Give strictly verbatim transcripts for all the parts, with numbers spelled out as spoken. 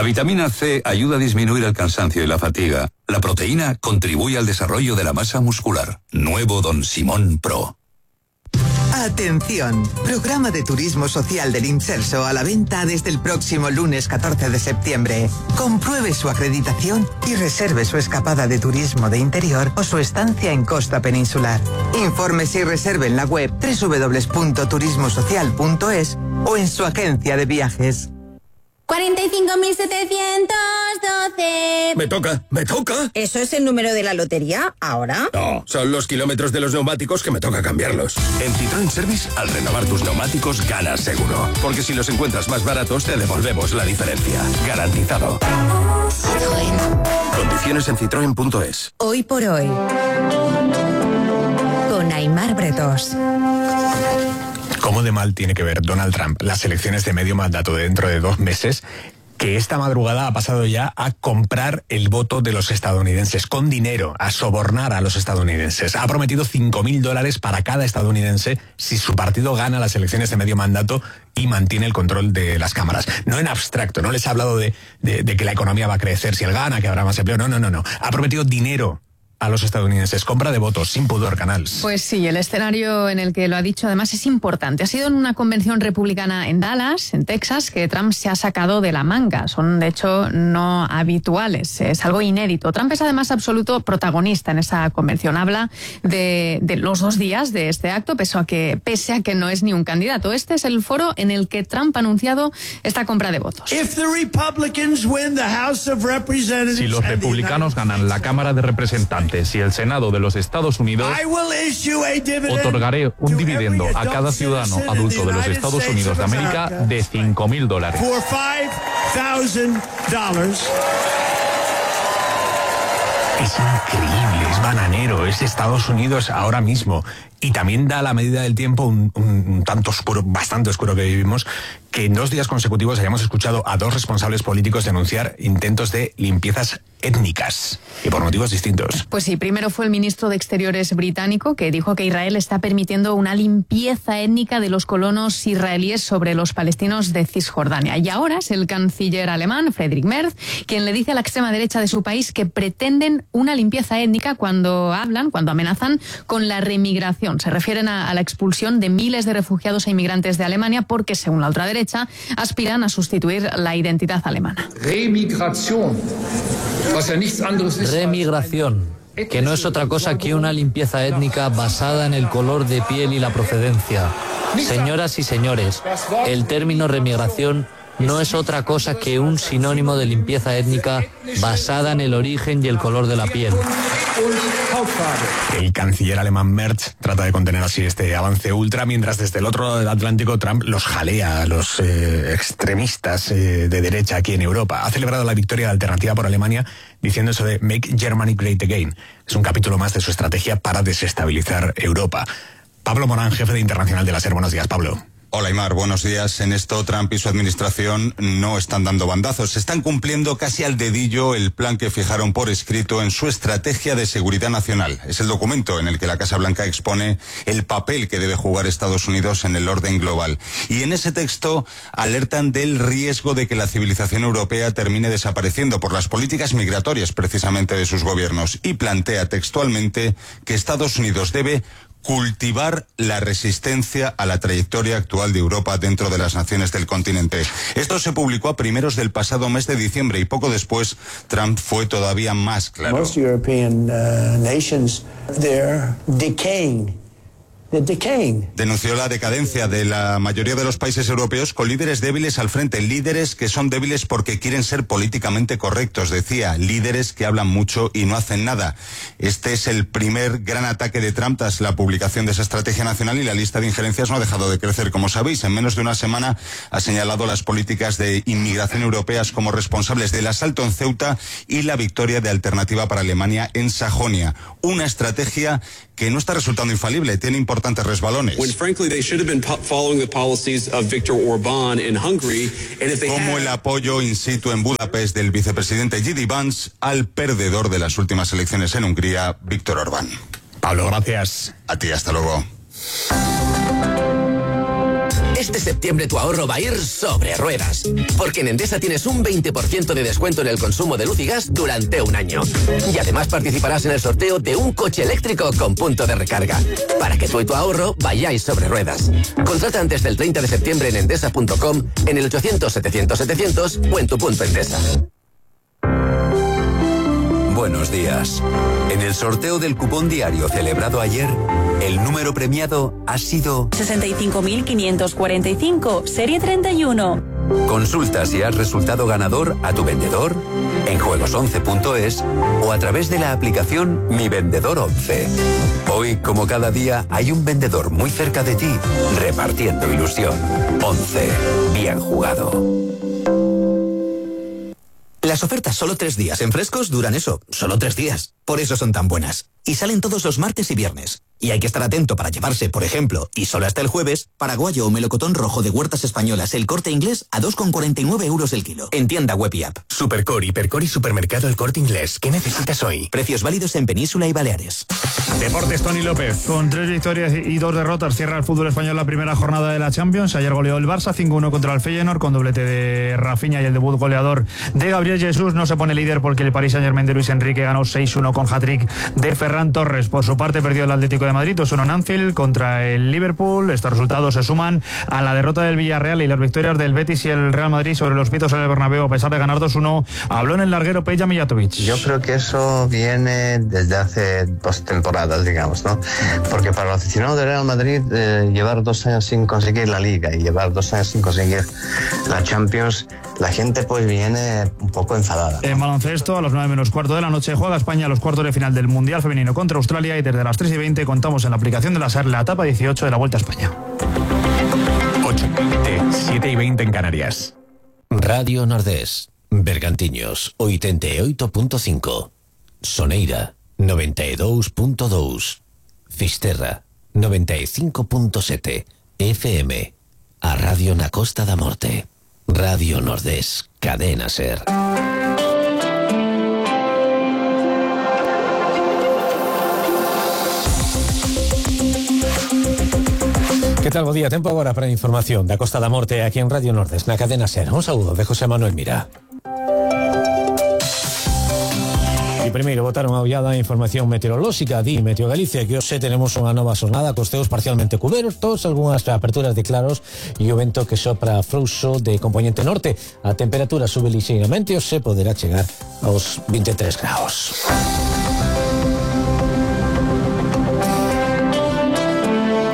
La vitamina C ayuda a disminuir el cansancio y la fatiga. La proteína contribuye al desarrollo de la masa muscular. Nuevo Don Simón Pro. Atención, programa de turismo social del Imserso a la venta desde el próximo lunes catorce de septiembre. Compruebe su acreditación y reserve su escapada de turismo de interior o su estancia en costa peninsular. Infórmese y reserve en la web doble u doble u doble u punto turismo social punto es o en su agencia de viajes. cuarenta y cinco mil setecientos doce. Me toca, me toca. ¿Eso es el número de la lotería ahora? No, son los kilómetros de los neumáticos que me toca cambiarlos. En Citroën Service, al renovar tus neumáticos, ganas seguro. Porque si los encuentras más baratos, te devolvemos la diferencia. Garantizado. Citroën. Condiciones en citroen punto es. Hoy por hoy, con Aimar Bretós. ¿Cómo de mal tiene que ver Donald Trump las elecciones de medio mandato de dentro de dos meses, que esta madrugada ha pasado ya a comprar el voto de los estadounidenses con dinero, a sobornar a los estadounidenses? Ha prometido cinco mil dólares para cada estadounidense si su partido gana las elecciones de medio mandato y mantiene el control de las cámaras. No en abstracto, no les ha hablado de, de, de que la economía va a crecer si él gana, que habrá más empleo. No, no, no, no. Ha prometido dinero a los estadounidenses. Compra de votos, sin pudor, Canals. Pues sí, el escenario en el que lo ha dicho además es importante. Ha sido en una convención republicana en Dallas, en Texas, que Trump se ha sacado de la manga. Son, de hecho, no habituales. Es algo inédito. Trump es además absoluto protagonista en esa convención. Habla de, de los dos días de este acto, pese a, que, pese a que no es ni un candidato. Este es el foro en el que Trump ha anunciado esta compra de votos. Si los republicanos ganan la Cámara de Representantes y el Senado de los Estados Unidos, otorgaré un dividendo a cada ciudadano adulto de los Estados Unidos de América de cinco mil dólares. Es increíble, es bananero, es Estados Unidos ahora mismo. Y también da a la medida del tiempo un, un, un tanto oscuro, bastante oscuro que vivimos, que en dos días consecutivos hayamos escuchado a dos responsables políticos denunciar intentos de limpiezas étnicas, y por motivos distintos. Pues sí, primero fue el ministro de Exteriores británico, que dijo que Israel está permitiendo una limpieza étnica de los colonos israelíes sobre los palestinos de Cisjordania. Y ahora es el canciller alemán, Friedrich Merz, quien le dice a la extrema derecha de su país que pretenden una limpieza étnica cuando hablan, cuando amenazan con la remigración. Se refieren a, a la expulsión de miles de refugiados e inmigrantes de Alemania porque, según la ultraderecha, aspiran a sustituir la identidad alemana. Remigración. Remigración, que no es otra cosa que una limpieza étnica basada en el color de piel y la procedencia. Señoras y señores, el término remigración no es otra cosa que un sinónimo de limpieza étnica basada en el origen y el color de la piel. El canciller alemán Merz trata de contener así este avance ultra, mientras desde el otro lado del Atlántico Trump los jalea a los eh, extremistas eh, de derecha aquí en Europa. Ha celebrado la victoria de Alternativa por Alemania diciendo eso de Make Germany Great Again. Es un capítulo más de su estrategia para desestabilizar Europa. Pablo Morán, jefe de Internacional de la SER. Buenos días, Pablo. Hola, Aimar, buenos días. En esto, Trump y su administración no están dando bandazos. Están cumpliendo casi al dedillo el plan que fijaron por escrito en su estrategia de seguridad nacional. Es el documento en el que la Casa Blanca expone el papel que debe jugar Estados Unidos en el orden global. Y en ese texto alertan del riesgo de que la civilización europea termine desapareciendo por las políticas migratorias precisamente de sus gobiernos. Y plantea textualmente que Estados Unidos debe cultivar la resistencia a la trayectoria actual de Europa dentro de las naciones del continente. Esto se publicó a primeros del pasado mes de diciembre y poco después Trump fue todavía más claro. Most European uh, nations, they're decaying. Denunció la decadencia de la mayoría de los países europeos con líderes débiles al frente, líderes que son débiles porque quieren ser políticamente correctos, decía, líderes que hablan mucho y no hacen nada. Este es el primer gran ataque de Trump tras la publicación de esa estrategia nacional y la lista de injerencias no ha dejado de crecer. Como sabéis, en menos de una semana ha señalado las políticas de inmigración europeas como responsables del asalto en Ceuta y la victoria de Alternativa para Alemania en Sajonia. Una estrategia que no está resultando infalible, tiene importantes resbalones. Como el apoyo in situ en Budapest del vicepresidente J D Vance al perdedor de las últimas elecciones en Hungría, Víctor Orbán. Pablo, gracias. A ti, hasta luego. Este septiembre tu ahorro va a ir sobre ruedas, porque en Endesa tienes un veinte por ciento de descuento en el consumo de luz y gas durante un año. Y además participarás en el sorteo de un coche eléctrico con punto de recarga, para que tú y tu ahorro vayáis sobre ruedas. Contrata antes del treinta de septiembre en endesa punto com, en el ochocientos setecientos setecientos o en tu punto Endesa. Buenos días. En el sorteo del cupón diario celebrado ayer, el número premiado ha sido sesenta y cinco mil quinientos cuarenta y cinco, serie treinta y uno. Consulta si has resultado ganador a tu vendedor, en juegos once punto es o a través de la aplicación Mi Vendedor once. Hoy, como cada día, hay un vendedor muy cerca de ti, repartiendo ilusión. once. Bien jugado. Las ofertas solo tres días en Frescos duran eso, solo tres días. Por eso son tan buenas. Y salen todos los martes y viernes. Y hay que estar atento para llevarse, por ejemplo, y solo hasta el jueves, paraguayo o melocotón rojo de Huertas Españolas El Corte Inglés a dos con cuarenta y nueve euros el kilo. En tienda web y app. Supercore, Hipercore y Supermercado El Corte Inglés. ¿Qué necesitas hoy? Precios válidos en Península y Baleares. Deportes, Tony López. Con tres victorias y dos derrotas cierra el fútbol español la primera jornada de la Champions. Ayer goleó el Barça cinco uno contra el Feyenoord con doblete de Rafinha y el debut goleador de Gabriel Jesús. No se pone líder porque el Paris Saint-Germain de Luis Enrique ganó seis uno con hat-trick de Ferran Torres. Por su parte perdió el Atlético de Madrid dos uno en Anfield contra el Liverpool. Estos resultados se suman a la derrota del Villarreal y las victorias del Betis y el Real Madrid sobre los pitos en el Bernabéu a pesar de ganar dos uno. Habló en el larguero Peja Mijatovic. Yo creo que eso viene desde hace dos temporadas, digamos, ¿no? Porque para el aficionado del Real Madrid eh, llevar dos años sin conseguir la Liga y llevar dos años sin conseguir la Champions, la gente pues viene un poco enfadada, ¿no? En baloncesto, a las nueve menos cuarto de la noche, juega España a los cuartos de final del Mundial Femenino contra Australia y desde las tres y veinte contamos en la aplicación de la SER la etapa dieciocho de la Vuelta a España. ocho y veinte, siete y veinte en Canarias. Radio Nordés, Bergantiños, ochenta y ocho punto cinco, Soneira, noventa y dos punto dos, Fisterra, noventa y cinco punto siete, F M, a Radio na Costa da Morte. Radio Nordés, cadena SER. Que tal, bo día? Tempo agora para a información da Costa da Morte aquí en Radio Nordés, na cadena SER. Un saúdo de José Manuel Mira. E primeiro botaron a ollada a información meteorolóxica di Meteo Galicia que hoxe tenemos unha nova xornada cos ceos parcialmente cubertos, algunhas aperturas de claros e o vento que sopra frouxo de componente norte. A temperatura sube lixeiramente e hoxe poderá chegar aos vinte e tres graus.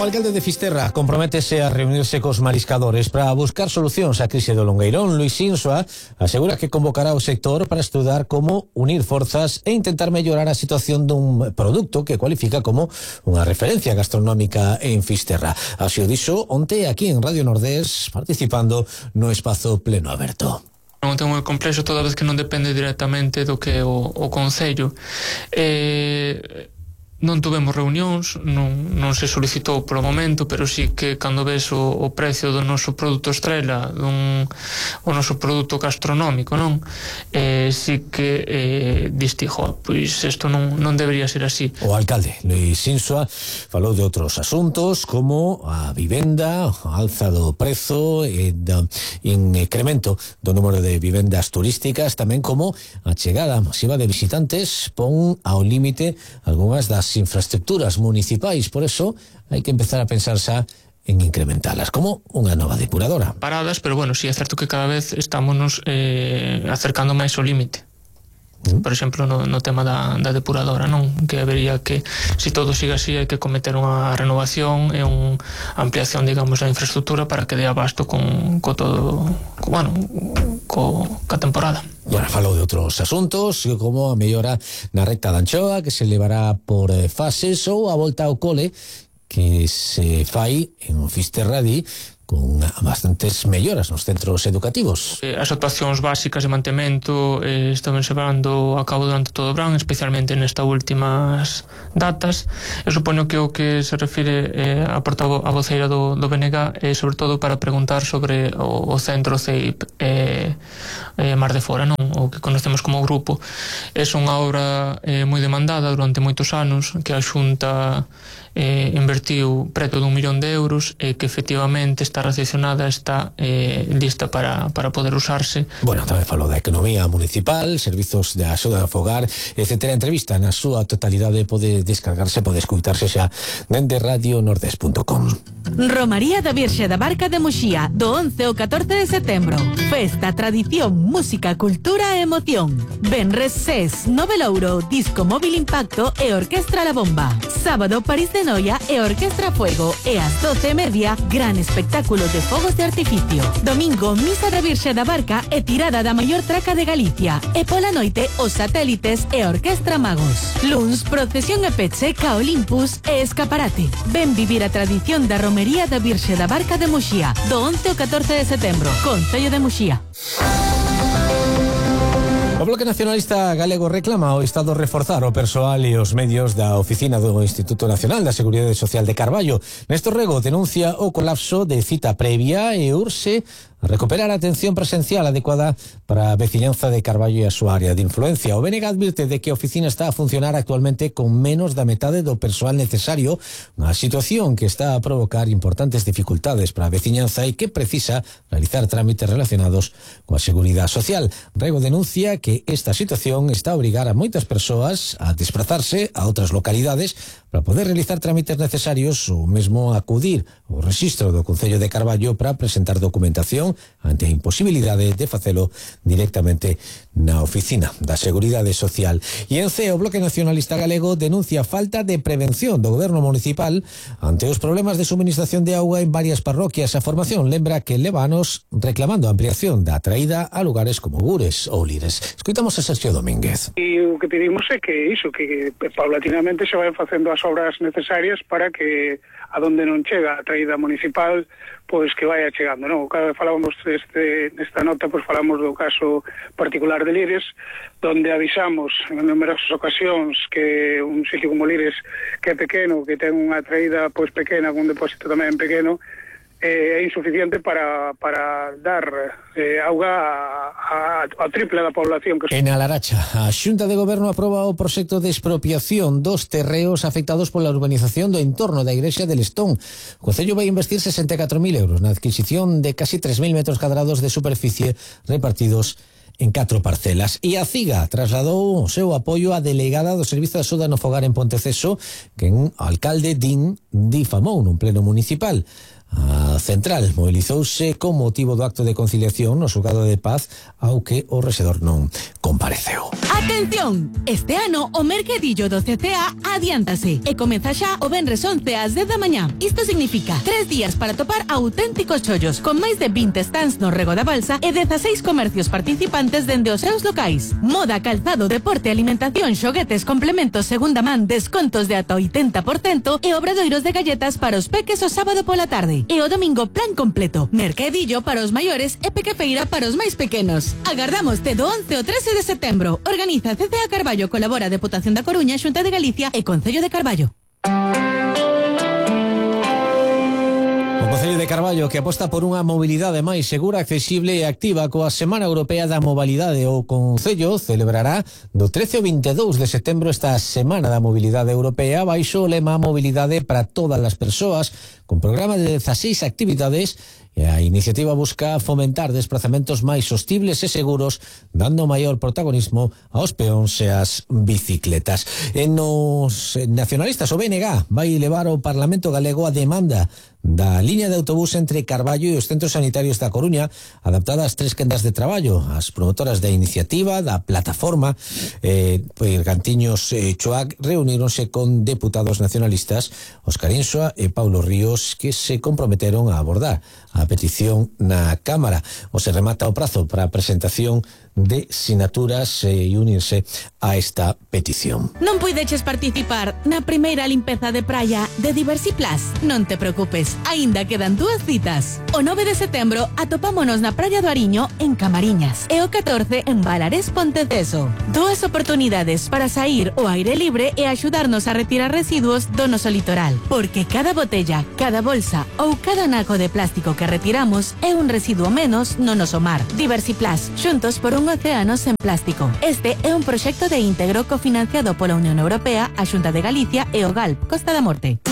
O alcalde de Fisterra comprométese a reunirse cos mariscadores para buscar solucións á crise do Longueirón. Luis Insua asegura que convocará o sector para estudar como unir forzas e intentar mellorar a situación dun produto que cualifica como unha referencia gastronómica en Fisterra. Así o dixo onte aquí en Radio Nordés participando no espazo pleno aberto. Non ten moi complexo toda vez que non depende directamente do que o, o Concello. Eh... Non tuvemos reunións, non, non se solicitou polo momento, pero sí que cando ves o, o precio do noso produto estrela, dun, o noso produto gastronómico, non? Eh, sí que eh, distijo, pois isto non, non debería ser así. O alcalde Luis Insua falou de outros asuntos como a vivenda, a alza do prezo e do incremento do número de vivendas turísticas, tamén como a chegada masiva de visitantes pon ao límite algunhas das infraestructuras municipais, por eso hai que empezar a pensar xa en incrementalas, como unha nova depuradora. Paradas, pero bueno, sí é certo que cada vez estamos eh, acercando máis ao límite. Mm. Por exemplo, no, no tema da, da depuradora, non? Que habería que, se todo siga así, hai que cometer unha renovación e unha ampliación, digamos, da infraestructura para que dé abasto con, co todo, co, bueno, co, ca temporada. Bueno, falou de outros asuntos, como a mellora na recta da Anchoa, que se levará por fases, ou a volta ao cole, que se fai en Fisterradí, con bastantes melloras nos centros educativos. As actuacións básicas de mantemento eh, están levando a cabo durante todo o verán, especialmente nestas últimas datas. Eu supoño que o que se refire eh, a portavoz a voceira do, do B N G é eh, sobre todo para preguntar sobre o, o centro C E I P eh, eh, Mar de Fora, non? O que conocemos como grupo. É unha obra eh, moi demandada durante moitos anos que a Xunta eh, invertiu preto dun millón de euros e que efectivamente está recepcionada, está eh, lista para, para poder usarse. Bueno, tamén falou da economía municipal, servizos de axuda ao fogar, etcétera. Entrevista na súa totalidade pode descargarse, pode escutarse xa dende radio nordés punto com. Romaría da Virxe da Barca de Muxía, do once ao catorce de setembro. Festa, tradición, música, cultura e emoción. Venres Ses, Novelouro, Disco Móvil Impacto e Orquestra La Bomba. Sábado, París de Noia e Orquestra Fuego. E ás doce e media, gran espectáculo de fogos de artificio. Domingo, Misa da Virxe da Barca e tirada da maior traca de Galicia. E pola noite, os satélites e Orquestra Magos. Luns, procesión e peche, ca Olympus e escaparate. Ven vivir a tradición da Romería da Virxe da Barca de Muxía, do once ao catorce de setembro, Concello de Muxía. O Bloque Nacionalista Galego reclama ao Estado reforzar o persoal e os medios da oficina do Instituto Nacional da Seguridade Social de Carballo. Néstor Rego denuncia o colapso de cita previa e urxe a recuperar a atención presencial adecuada para a veciñanza de Carballo e a súa área de influencia. O B N G advirte de que a oficina está a funcionar actualmente con menos da metade do persoal necesario, unha situación que está a provocar importantes dificultades para a veciñanza e que precisa realizar trámites relacionados coa seguridade social. Rego denuncia que esta situación está a obrigar a moitas persoas a desplazarse a outras localidades para poder realizar trámites necesarios ou mesmo acudir ao rexistro do Concello de Carballo para presentar documentación ante a imposibilidade de facelo directamente na oficina da Seguridade Social. E en C, o Bloque Nacionalista Galego denuncia falta de prevención do goberno municipal ante os problemas de suministración de auga en varias parroquias. A formación lembra que leva anos reclamando a ampliación da traída a lugares como Gures ou Lires. Escoitamos a Sergio Domínguez. E o que pedimos é que iso, que paulatinamente se vayan facendo as obras necesarias para que a donde non chega a traída municipal, pois que vaya chegando, non? Cada vez falábamos deste, nesta nota, pois falamos do caso particular de Lires, donde avisamos en numerosas ocasións que un sitio como Lires, que é pequeno, que ten unha traída pois pequena, con un depósito tamén pequeno, é insuficiente para, para dar eh, auga a, a, a triple da población. Que... En Alaracha, a Xunta de Goberno aproba o proxecto de expropiación dos terreos afectados pola urbanización do entorno da Igrexa de Lestón. O Concello vai investir sesenta e catro mil euros na adquisición de casi tres mil metros cadrados de superficie repartidos en catro parcelas. E a CIGA trasladou o seu apoio á delegada do Servizo de Axuda no Fogar en Ponteceso, que un alcalde din difamou nun pleno municipal. A central movilizouse con motivo do acto de conciliación no xulgado de paz, ao que o rexedor non compareceu. Atención! Este ano o mercadillo do C C A adiántase e comeza xa o venres once ás dez da mañá. Isto significa tres días para topar auténticos chollos, con máis de vinte stands no Rego da Balsa e dezaseis comercios participantes dende os seus locais. Moda, calzado, deporte, alimentación, xoguetes, complementos, segunda man, descontos de ata oitenta por cento e obradoiros de galletas para os peques o sábado pola tarde. E o domingo plan completo, mercadillo para os maiores e pequefeira para os máis pequenos. Agardamos do once ao trece de setembro. Organiza C C A Carballo, colabora Deputación da Coruña, Xunta de Galicia e Concello de Carballo. O Concello de Carballo, que aposta por unha mobilidade máis segura, accesible e activa coa Semana Europea da Mobilidade. O Concello celebrará do trece ao vinte e dous de setembro esta Semana da Mobilidade Europea baixo o lema Mobilidade para todas as persoas, con programa de dezaseis actividades. E a iniciativa busca fomentar desplazamentos máis sostibles e seguros, dando maior protagonismo aos peóns e ás bicicletas. En os nacionalistas, o B N G vai levar ao Parlamento Galego a demanda da liña de autobús entre Carballo e os centros sanitarios da Coruña, adaptada ás tres quendas de traballo. As promotoras da iniciativa, da plataforma, eh, Bergantiños e Choac, reuníronse con deputados nacionalistas, Óscar Insua e Paulo Ríos, que se comprometeron a abordar a petición na Cámara. O se remata o prazo para a presentación de sinaturas e unirse a esta petición. Non puideches participar na primeira limpeza de praia de Diversiplas? Non te preocupes, aínda quedan dúas citas. O nove de setembro atopámonos na praia do Ariño en Camariñas e o catorce en Balarés Ponteceso. Dúas oportunidades para sair ao aire libre e axudarnos a retirar residuos do noso litoral, porque cada botella, cada bolsa ou cada naco de plástico que retiramos é un residuo menos no noso mar. Diversiplast, xuntos por un océano sen plástico. Este é un proxecto de íntegro cofinanciado pola Unión Europea, a Xunta de Galicia e o GALP, Costa da Morte.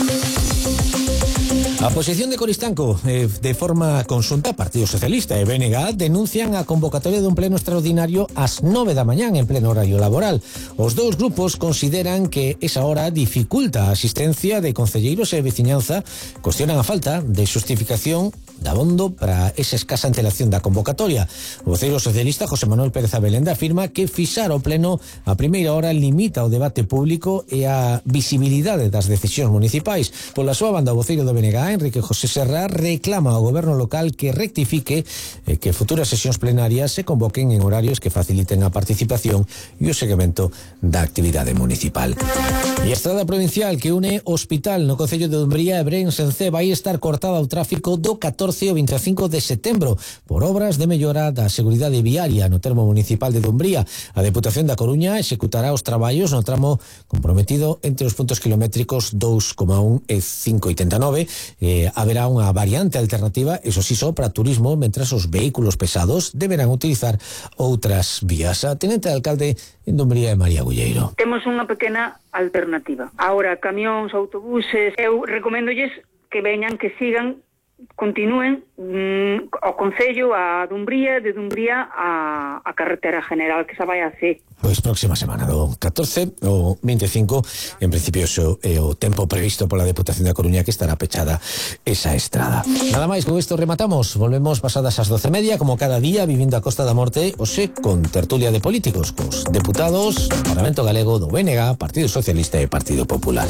A posición de Coristanco, eh, de forma conxunta, Partido Socialista e B N G denuncian a convocatoria dun pleno extraordinario ás nove da mañán en pleno horario laboral. Os dous grupos consideran que esa hora dificulta a asistencia de concelleiros e veciñanza, cuestionan a falta de xustificación de abondo para esa escasa antelación da convocatoria. O voceiro socialista José Manuel Pérez Abelenda afirma que fixar o pleno a primeira hora limita o debate público e a visibilidade das decisións municipais. Pola súa banda, o voceiro do B N G, Enrique José Serra, reclama ao goberno local que rectifique e que futuras sesións plenarias se convoquen en horarios que faciliten a participación e o seguimento da actividade municipal. E a estrada provincial que une Hospital no concello de Dumbría e Brens en Cee vai estar cortada ao tráfico do catorce ao veinticinco de setembro por obras de mellora da seguridade viaria no termo municipal de Dumbría. A Deputación da Coruña executará os traballos no tramo comprometido entre os puntos kilométricos dous coma un e cinco oitenta e nove. Eh, haberá unha variante alternativa, eso sí, só para turismo, mentras os vehículos pesados deberán utilizar outras vías. A tenente de alcalde en Dumbría é María Gulleiro. Temos unha pequena alternativa. Ahora, camións, autobuses, eu recoméndolles que veñan, que sigan, continúen mm, ao Concello, a Dumbría, de Dumbría a, a carretera general que se vai a Cee. Pois próxima semana, do catorce ao veinticinco, en principio iso é o tempo previsto pola Deputación da Coruña, que estará pechada esa estrada. Nada máis, con isto rematamos. Volvemos pasadas as doce e media, como cada día, vivindo a Costa da Morte, hoxe con tertulia de políticos, cos deputados do Parlamento Galego, do B N G, Partido Socialista e Partido Popular.